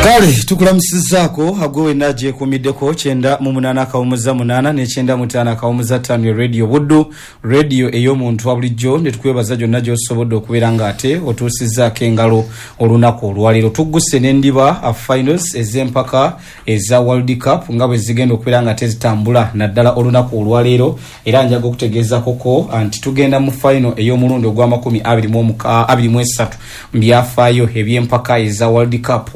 Kale tukulamusizaako agwe wenna gyekuumiddeko 98.8 ne 95.5 Radio Buddu, radio ey'omuntu wa bulijjo, ne tukwebaza gyonna gy'osobodde okubeera ng'ate otuusizzaako engalo olunaku olwaleero. Tugguse n'endiba finals ez'empaka eza World Cup nga bwe zigenda okubeera nga tezitambula naddala olunaku olwaleero, era njaga okutegeezakoko nti tugenda mu final ey'omulundi ogw'ama 23 mu byafaayo eby'empaka eza World Cup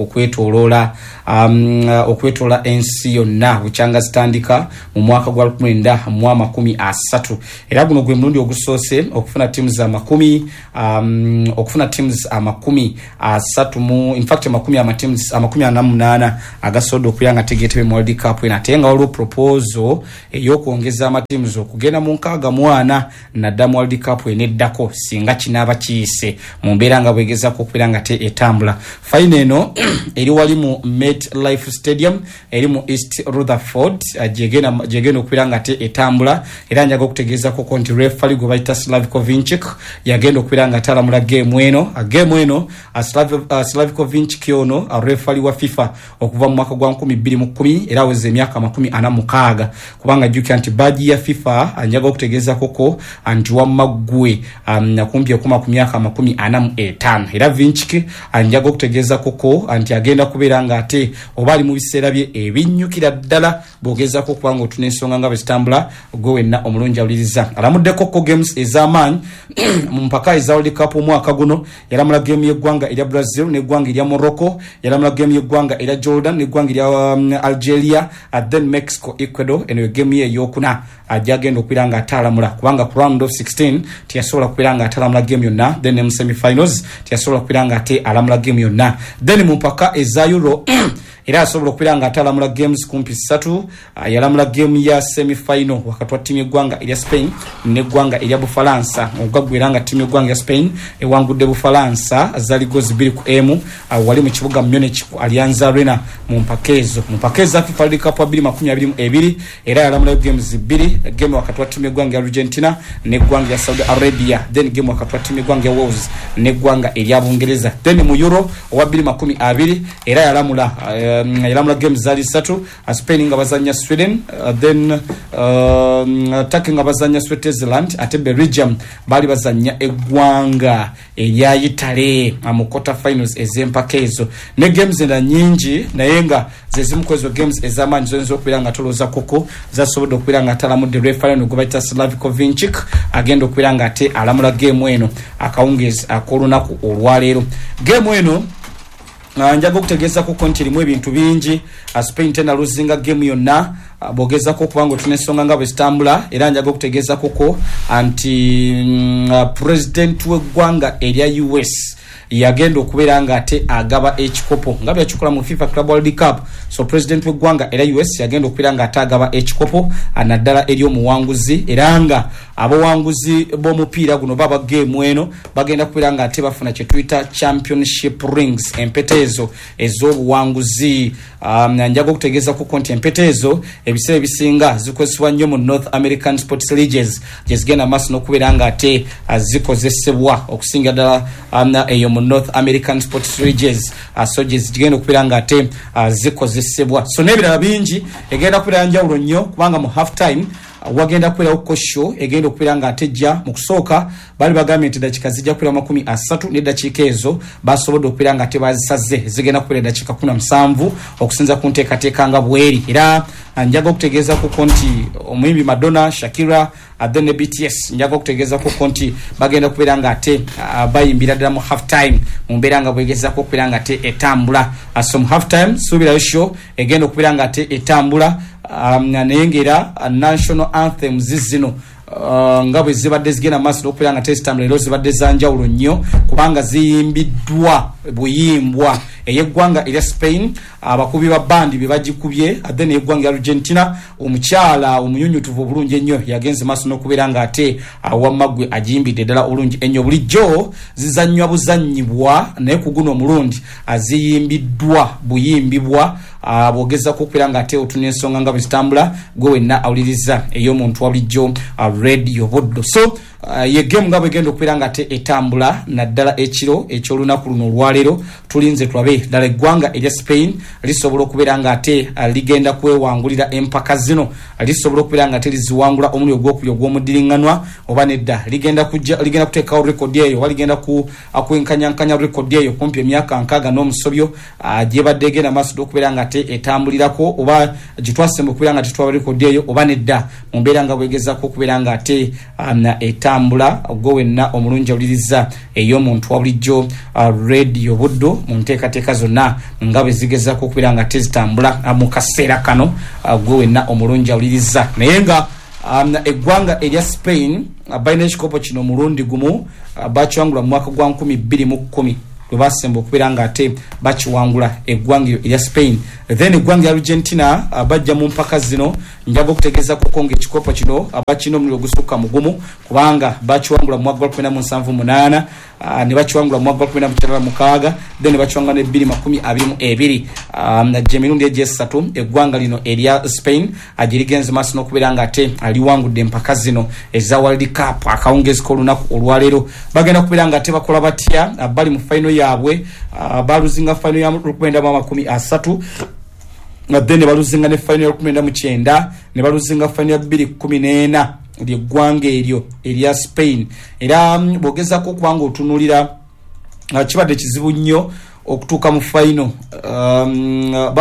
okwetoola ensi yonna bukyanga zitandika mu mwaka gwa 1930. Era guno gwe mulundi ogusoose okufuna teams 30 mu, infact makumi ama teams 48 agasobodde okubeera nga tegeetebe mu World Cup eno, ate nga waliwo proposal ey'okwongeza amateams okugenda mu 64 nadda mu World Cup eneddako singa kinaaba kiyise mu mbeera nga bwegezako okubeera nga te etambula. Final eno eri wali mu Met Life Stadium eri mu East Rutherford, gyegenda okubeera nga te etambula. Era njaga okutegeezako nti referee gwe bayita Slavko Vincic yagenda okubeera nga talamula geemu eno. Geemu eno, Slavko Vincic ono referee wa FIFA okuva mu mwaka gwa 2010, era aweza emyaka 46, kubanga jjukira nti badge ya FIFA, njaga okutegeezakoko nti wamma ggwe kumpi okuma ku myaka 45. Era Vincic, njaga okutegeezakoko nti agenda kubeera nga ate oba ali mu biseera bye ebinnyukira ddala bw'ogezaako okuba nga otuna ensonga nga bwe zitambula. Gwe wenna omulungi awuliriza, alamuddeko ko games ez'amaanyi mu mpaka eza World Cup omwaka guno. Yalamula game y'eggwanga erya Brazil n'eggwanga erya Morocco, yalamula game y'eggwanga erya Jordan n'eggwanga erya Algeria, then Mexico, Ecuador. Eno ye game ye eyokuna gyagenda okubeera nga atalamula, kubanga ku round of 16 teyasobola kubeera nga atalamula game yonna, then ne mu semifinals teyasobola kubeera nga ate alamula game yonna. Then mu mpaka eza Euro era asobola okubeera nga atalamula games kumpi ssatu. Yalamula game ya semifinal wakati wa ttiimu y'eggwanga erya Spain n'eggwanga erya Bufalansa, ogwaggwera nga ttiimu y'eggwanga erya Spain ewangudde Bufalansa zaali goals 2-1, wali mu kibuga Munich ku Allianz Arena mu mpaka ezo, mu mpaka eza FIFA World Cup 2022. Era yalamulayo games bbiri, game wakati wa ttiimu y'eggwanga erya Argentina n'eggwanga erya Saudi Arabia, then game wakati wa ttiimu y'eggwanga erya Wales n'eggwanga erya Bungereza. Then mu Euro owa 2020 era yalamula games zaali ssatu, Spain nga bazanya Sweden, then Turkey nga bazanya Switzerland, ate Belgium baali bazanya eggwanga erya Italy mu quarter finals ez'empaka ezo, ne games endala nyingi, naye nga zezimu ku ezo games ez'amaanyi zoyinza okubeera nga tolooza koko zasobodde okubeera nga atalamudde referee eno gwe bayita Slavko Vincic, agenda okubeera nga ate alamula geemu eno akawungeezi ak'olunaku olwaleero. Geemu eno, njaga okutegeezako nti erimu ebintu bingi. Spain tenaluzinga geemu yonna, bwogezako okuba nga otuna ensonga nga bwe zitambula. Era njaga okutegeezakoko nti president w'eggwanga erya US yagenda okubeera nga ate agaba ekikopo nga byakikola mu FIFA Club World Cup. So president w'eggwanga era US yagenda okubeera nga ate agaba ekikopo, naddala eri omuwanguzi, era nga abawanguzi b'omupiira guno baba geemu eno bagenda kubeera nga ate bafuna kyetuyita championship rings, empeta ezo ez'obuwanguzi. Njaga okutegeezako nti empeta ezo ebiseera ebisinga zikozesebwa nnyo mu North American sports leagues, gyezigenda maaso n'okubeera nga ate zikozesebwa okusinga ddala eyo mu North American sports leagues, so gyezigenda okubeera nga ate zikozesebwa. So n'ebirala bingi, egenda kubeera njawulo nnyo kubanga mu half time wagenda kubeerawo show egenda okubeera nga atejja. Mu kusooka baali bagambye nti eddakiika zijja kubeera 30, n'eddakiika ezo basobodde okubeera nga tebazisaze, zigenda kubeera eddakiika 17 okusinza ku nteekateeka nga bweri. Era njaga okutegeezakoko nti omuyimbi Madonna, Shakira, then ne BTS, njaga okutegeezakoko nti bagenda kubeera nga ate bayimbira ddala mu half time mu mbeera nga bwegezako okubeera nga ate etambula. So mu half time suubirayo show egenda okubeera nga ate etambula, naye ngaera national anthems zino nga bwe zibadde zigenda maaso n'okubeera nga tezitambula, era zibadde za njawulo nnyo kubanga ziyimbiddwa buyimbwa. Ey'eggwanga erya Spain abakubi ba bandi be bagikubye, then ey'eggwanga erya Argentina omukyala omunyunyutuvu obulungi ennyo yagenze maaso n'okubeera nga ate awammaggwe agiyimbidde ddala obulungi ennyo. Bulijjo zizannywa buzannyibwa, naye ku guno omulundi aziyimbiddwa buyimbibwa. Bwogezako okubeera nga ate otuna ensonga nga bwe zitambula, gwe wenna awuliriza ey'omuntu wa bulijjo, Radio Buddo. So Ye game nga bwegenda okubeera nga ate etambula naddala ekiro eky'olunaku luno olwaleero, tulinze tulabe ddala eggwanga erya Spain lisobola okubeera nga ate ligenda kwewangulira empaka zino, lisobola okubeera nga ate liziwangula omulundi ogwokubiri ogw'omuddiringanwa oba nedda ligenda kujja ligenda kuteekawo rekodi eyo oba ligenda ku kwenkanyankanya rekodi eyo kumpi emyaka 60 gyebadde egenda maaso okubeera nga ate etambulirako, oba gye twasemba okubeera nga tetwaba rekodi eyo oba nedda, mu mbeera nga bwegezaako okubeera nga ate etambula. Gwe wenna omulungi awuliriza ey'omuntu wa bulijjo Radio Buddu, mu nteekateeka zonna nga bwe zigezaako okubeera nga ate zitambula mu kaseera kano, gwe wenna omulungi awuliriza. Naye nga eggwanga erya Spain balina ekikopo kino omulundi gumu, bakiwangula mu mwaka gwa 2010 lwe basemba okubeera nga ate bakiwangula eggwanga eryo erya Spain. Then eggwanga erya Argentina bajja mu mpaka zino, njaga okutegeeza kuko nga ekikopo kino bakirina omulundi ogusukka mu gumu, kubanga bakiwangula mu mwaka gwa 1978, ne bakiwangula mu mwaka gwa 1996, then ne bakiwangula ne 2022. Gye mirundi egyesatu eggwanga lino erya Spain gye ligenze maaso n'okubeera nga ate liwangudde empaka zino eza World Cup. Akawungezi k'olunaku olwaleero bagenda kubeera nga ate bakola batya? Bali mu final yaabwe, baluzinga final ya 1930, then ne baluzinga ne final ya 1990, ne baluzinga final ya 2014, lyeggwanga eryo erya Spain. Era bw'ogezaako okuba nga otunuulira, kibadde kizibu nnyo okutuuka mu final.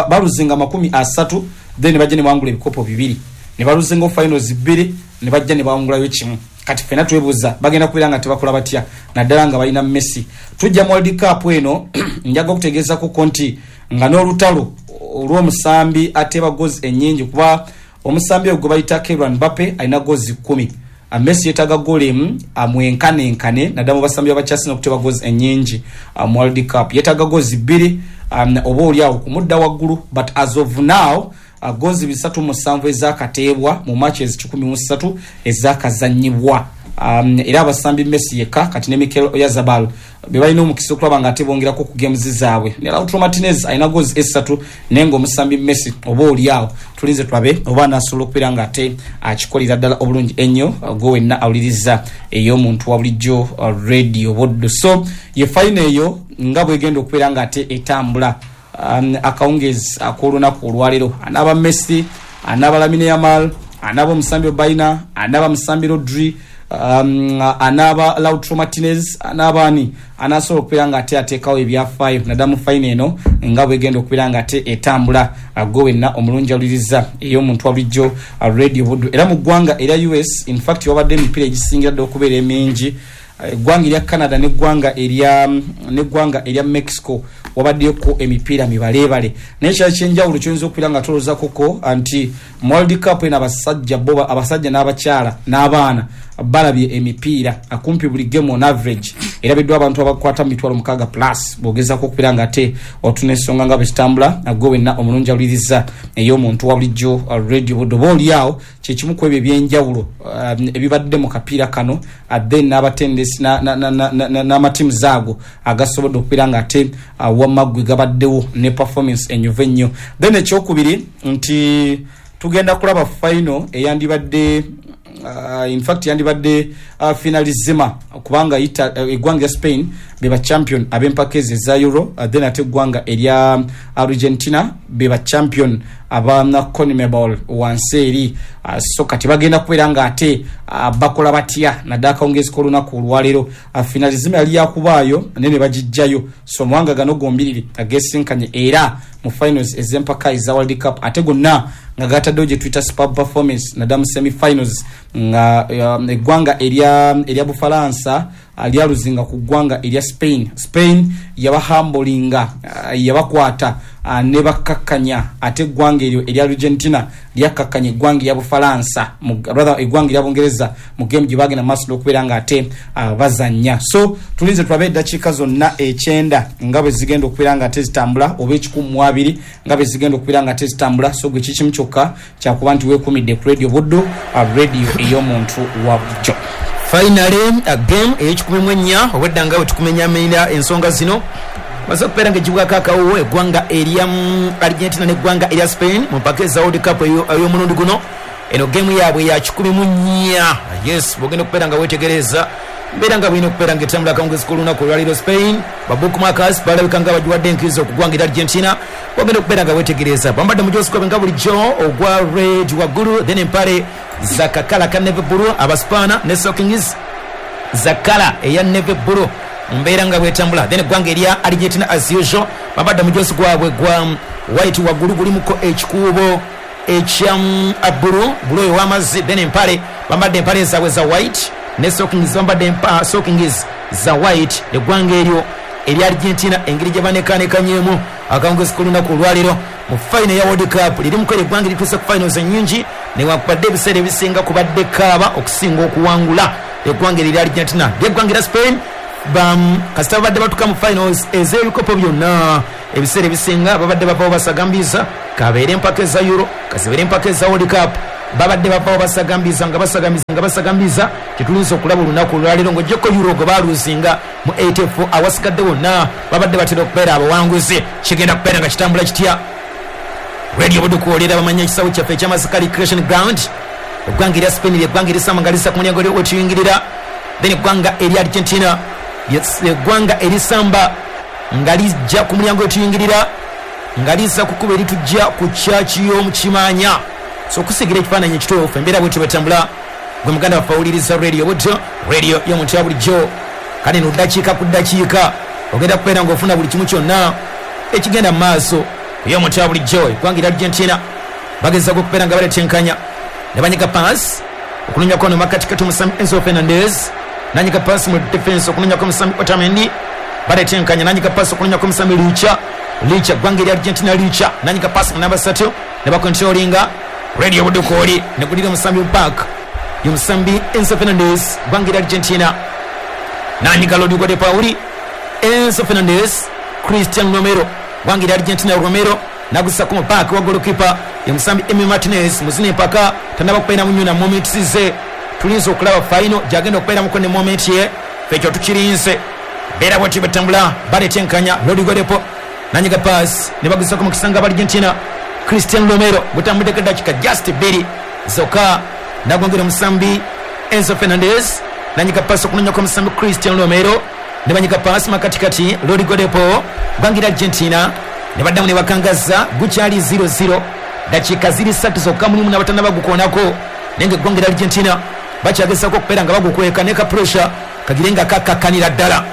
Baluzinga 30, then ne bajja ne bawangula ebikopo bibiri, ne baluzinga finals bbiri, ne bajja ne bawangulayo kimu. Kati ffenna twebuuza bagenda kubeera nga tebakola batya, naddala nga balina Messi. Tujja mu World Cup eno, njaga okutegeezakoko nti nga n'olutalo olw'omusambi ateeba goals ennyingi, kuba omusambi ogwo gwe bayita Kylian Mbappe alina goals 10. Messi yeetaaga goal emu amwenkanenkane, naddala mu basambi abakyasinga okuteeba goals ennyingi mu World Cup. Yeetaaga goals bbiri oba oli awo kumudda waggulu, but as of now goals 307 ezakateebwa mu matches 103 ezakazanyibwa. Era abasambi Messi yekka kati ne Mikel Oyarzabal be balina omukisa okulaba nga ate bongerako ku games zaabwe, ne Lautaro Martinez alina goals esatu, naye nga omusambi Messi oba oli awo tulinze tulabe oba anasobola okubeera nga ate akikolera ddala obulungi ennyo. Gwe wenna awuliriza ey'omuntu wa bulijjo Radio Buddu, so ye final eyo nga bwegenda okubeera nga ate etambula akawungezi ak'olunaku olwaleero. Anaaba Messi, anaaba Lamine Yamal, anaaba omusambi Obaina, anaaba musambi Rodri, anaaba Lautaro Martinez, anaaba ani anasobola okubeera nga ate ateekawo ebyafaayo, naddala mu final eno nga bwegenda okubeera nga ate etambula. Gwe wenna omulungi awuliriza ey'omuntu wa bulijjo Radio Buddu. Era mu ggwanga erya US, in fact, wabadde emipiira egisingira ddala okubeera emingi, eggwanga erya Canada neggwanga erya Mexico, wabaddeko emipiira mibaleebale. Naye kyali kyenjawulo kyoyinza okubeera nga tolowoozakoko nti mu World Cup eno abasajja bo, abasajja n'abakyala n'abaana balabye emipiira akumpi buli game on average erabiddwa abantu abakwata mu 60,000 plus. Bw'ogezaako okubeera nga ate otuna ensonga nga bwe zitambula, gwe wenna omulungi awuliriza ey'omuntu wa bulijjo Radio Buddu, oba oli awo kyekimu ku ebyo ebyenjawulo ebibadde mu kapiira kano, then n'abatendesi n'amatiimu zaago agasobodde okubeera nga ate wamma ggwe gabaddewo ne performance enyuvu ennyo. Then ekyokubiri nti tugenda kulaba final eyandibadde, in fact yandibadde finalissima, kubanga eggwanga erya Spain beba champion ab'empaka ezo eza Euro, then ate eggwanga erya Argentina beba champion aba CONMEBOL wansi eri. So kati bagenda kubeera nga ate bakola batya, naddala akawungezi k'olunaku olwaleero? Finalissima yali yakubaayo naye ne bagijjayo. So amawanga gano gombiriri agesinkanye era mu finals ez'empaka eza World Cup, ate gonna nga gataddewo gye tuyita superb performance, naddala mu semifinals, nga eggwanga erya Bufalansa lyaluzinga ku ggwanga erya Spain. Spain yabahambolinga, yabakwata ne bakkakkanya, ate eggwanga eryo erya Argentina lyakkakkanya eggwanga erya Bufalansa, rather eggwanga erya Bungereza, mu game gye bagenda maaso n'okubeera nga ate bazannya. So tulinze tulabe eddakiika zonna 90 nga bwe zigenda okubeera nga ate zitambula, oba 120 nga bwe zigenda okubeera nga ate zitambula. So gwe kikimu kyokka kyakuba nti weekumidde ku Radio Buddu, radio ey'omuntu wa bulijjo. Finally, game ey'ekikumi mu ennya obwedda nga bwetukumenyaamenyera ensonga zino emaze okubeera nga egibwaku akawuwo eggwanga erya Argentina n'eggwanga erya Spain mu mpaka eza World Cup ey'omulundi guno. Eno gemu yaabwe ya 14. Yes, bwogenda okubeera nga weetegereza mbeera nga bwina okubeera nga etambula akawungezi k'olunaku olwaleero. Spain babookmakers balabika nga bagiwadde enkizo okugwangira Argentina. Bwogenda okubeera nga weetegereza bambadde mujosi gwabwe nga bulijjo ogwa red waggulu, then empale za kakala ka navy blue abaspaana ne stockings za kala eya navy blue, mbeera nga bwetambula. Then eggwanga erya Argentina as usual bambadde mujosi gwabwe gwa white waggulu, gulimuko ekikuubo ekya blue, blue oyo w'amazzi. Then empale bambadde empale zaabwe za white ne stockings bambadde stockings za white. Eggwanga eryo erya Argentina engeri gye banekanekanyemu akawungezi k'olunaku olwaleero mu final ya World Cup, lirimuko eryo eggwanga erituuse ku finals ennyingi newankubadde ebiseera ebisinga kubadde kaaba okusinga okuwangula. Eggwanga eryo erya Argentina, lyeggwanga erya Spain kasita babadde batuuka mu finals ez'ebikopo byonna, ebiseera ebisinga babadde bavawo basagambiza, kabeere empaka eza Euro, kazibeere empaka eza World Cup, babadde bavawo basagambiza nga basagambiza nga basagambiza. Kyetulinza okulaba olunaku olwaleero ng'oggyeko Euro gwe baluzinga mu 84, awasigadde wonna babadde batera okubeera abawanguzi. Kigenda kubeera nga kitambula kitya? Radio Budukuolera bamanya ekisawo kyaffe eky'Amasaka Recreation Ground. Eggwanga erya Spain lyeggwanga erisamba nga lisa ku mulyango wetuyingirira, then eggwanga erya Argentina eggwanga erisamba nga lijja ku mulyango wetuyingirira nga liza kukuba eritujja ku kyaki y'omukimanya. So okusigira ekifaananyi ekituufu embeera bwetyo bwetambula. Gwe muganda waffe awuliriza Radio Buddo, radio y'omuntu ya bulijjo, kale no ddakiika ku ddakiika ogenda kubeera ng'ofuna buli kimu kyonna ekigenda mu maaso ey'omuntu ya bulijjo. Eggwanga erya Argentina bagezaako okubeera nga baletenkanya ne banyiga pass okunonyako ono makatikati omusambi Enzo Fernandez, nanyiga pass mu defense okunonyako omusambi Otamendi, baletenkanya nanyiga pass okunonyako omusambi Licha, Licha ggwanga erya Argentina, Licha nanyiga pass mu namba 3 ne bakontrolinga. Radio Budukooli negulira omusambi park yomusambi Enzo Fernandez, ggwanga erya Argentina, nanyiga Rodrigo de Pauli, Enzo Fernandez, Christian Romero, ggwanga erya Argentina, Romero nagusako mu park wa goalkeeper yomusambi Emi Martinez. Muzina empaka tanaba kubeera munyuna moments ze tulinza okulaba final gyagenda okubeeramuko ne moment ye fekyo tukirinze. Mbeera bwetyo bwetambula, baletenkanya Rodrigo de Paul nanyiga pass ne bagusako mu kisanga ba Argentina Christian Romero, gutambuddeko eddakiika just 2 zokka, nagongera omusambi Enzo Fernandez nanyiga pass okunonyako omusambi Christian Romero, ne banyiga pass makatikati Rodrigo de Paul, ggwanga erya Argentina ne baddamu ne bakangaza, gukyali 0-0, dakiika ziri 3 zokka mulimu n'abatannaba gukoonako, naye nga eggwanga erya Argentina bakyagezaako okubeera nga bagukweka ne ka pressure kagire nga kakakkanira ddala.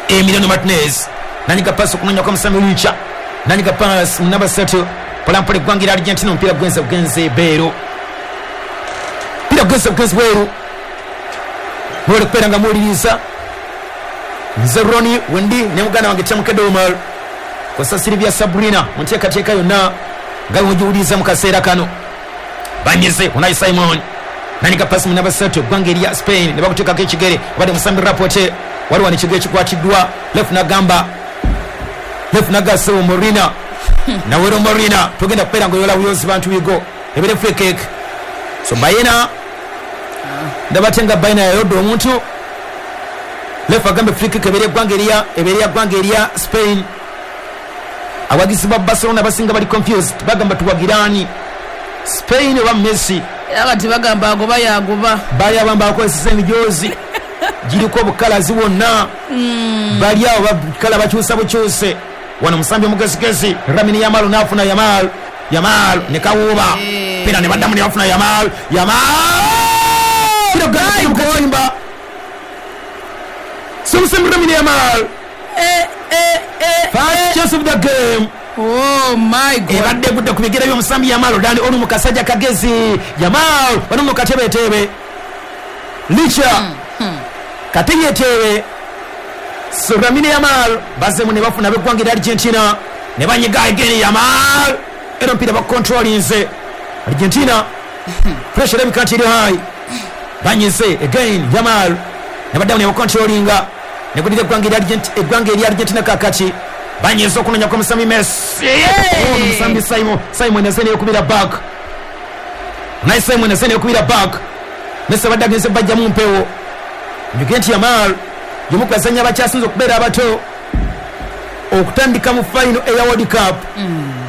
Emiliano Martinez nanyiga pass okunonyako omusambi Licha, nanyiga pass mu namba 3 mpolampola eggwanga erya Argentina, omupiira gwenze bugenze beeru, omupiira gwenze bugenzi bweru. Mwole kubeera nga muwuliriza nze Roni wendi ne muganda wange Tamukedde Omar kosa Silvia Sabrina mu nteekateeka yonna nga bwemugiwuliriza mu kaseera kano. Banyize Unai Simon nanyiga pasi mu namba 3 eggwanga erya Spain ne bakuteekako ekigere, obadde musambi Rapote, waliwo wano ekigere kikwatiddwa left, nagamba left nagasewo Morina nawero Morina togenda kubeera nga oyola buyozi bantu bigo ebere free kick. So Bayina ndabate nga Bayina yayodde omuntu left agambe free kick ebere eggwanga erya ebere eggwanga erya Spain. Abawagizi ba Barcelona basinga bali confused, bagamba tuwagirani Spain oba Messi? Era kati bagamba agoba yagoba, bali abamu bakozesa emijozi giriko obukalazi bwonna, bali awo bakala bakyusa bukyuse. Wano musambi omugezigezi Lamine Yamal n'afuna Yamal, Yamal ne kawuuba pira ne baddamu ne bafuna Yamal, Yamal katimba Samson Lamine Yamal, first chance of the game. Oh my God, ebadde egudde ku bigere by'omusambi Yamal. Dani ono mukasajja kagezi Yamal wano mu katebetebe Licha kateyeteebe. So Lamine Yamal bazemu ne bafuna ab'eggwanga erya Argentina ne banyiga again Yamal, era omupiira bakontrolinze Argentina, pressure erabika nti eri high, banyize again Yamal ne baddamu ne bakontrolinga negudira eggwanga erya Argentina. Kakati banyize okunonyako omusambi Messi, omusambi Simon azze neyekubira back, naye Simon azze neyekubira back. Messi abadde agenze bajjamu mpewo. Njugire nti Yamal y'omu ku bazannyi abakyasinze okubeera abato okutandika mu final eya World Cup.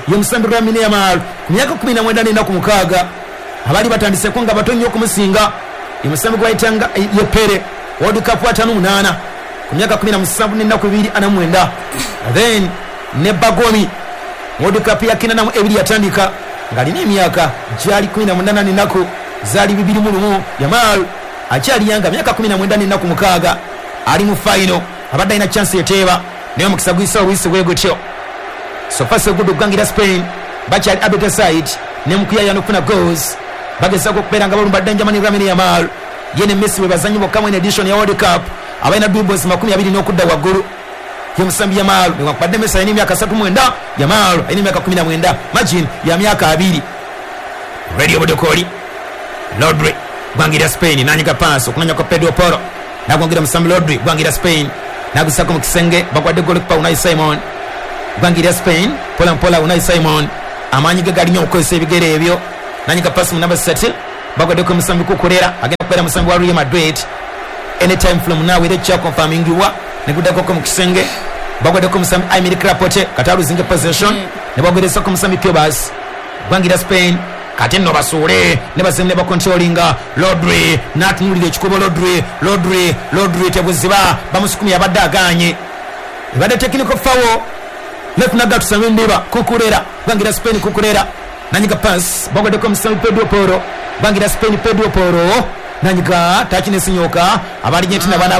Ye musambi Lamine Yamal ku myaka 19 n'ennaku 6 Abali batandiseko nga bato nnyo okumusinga. Omusambi gwayitanga ye Pere World Cup 58 ku myaka 17 n'ennaku 249. Then ne Bagomi World Cup ya 92 yatandika ng'alina emyaka gyali 18 n'ennaku zaali 21. Yamal akyali yanga myaka 19 n'ennaku 6 ali mu final, abadde alina chance eteeba naye omukisa guyisa obuyisi bwe gutyo. So far so good okugangira Spain, bakyali abeta side ne mukuyaya n'okufuna goals, bagezaako okubeera nga balumba Benjamin Lamine Yamal. Ye ne Messi bwe bazanyi bokka mu edition ya World Cup abalina dribbles 20 n'okudda waggulu. Ye musambi Yamal newankubadde Messi alina emyaka 39, Yamal alina emyaka 19, margin ya myaka 2. Radio Budokoli Rodri gwangira Spain nanyiga pass okunanya kwa Pedro Porro nagwangira musambi Rodri gwangira Spain nagusako mu kisenge bagwadde goalkeeper Unai Simon gwangira Spain pola mpola. Unai Simon amaanyi ge galinyo okukozesa ebigere ebyo nanyiga pass mu namba 7 bagwaddeko musambi Kukurera agenda kubeera musambi wa Real Madrid anytime from now era kya confirmingiwa neguddako mu kisenge bagwaddeko musambi Aymeric Laporte kataluzinga possession ne bagwerezako musambi Piobas gwangira Spain. Kati nno basuule ne bazemu ne bakontrolinga Rodri n'atunuulira ekikubo Rodri tebuziba bamusukumye abadde aganye ebadde technical foul left nagatusa ndiba Kukurera gwangira Spain. Kukurera nanyiga pass bagwaddeko musambi Pedro Porro gwangira Spain. Pedro Porro nanyiga takinesinyoka abali Argentina bana.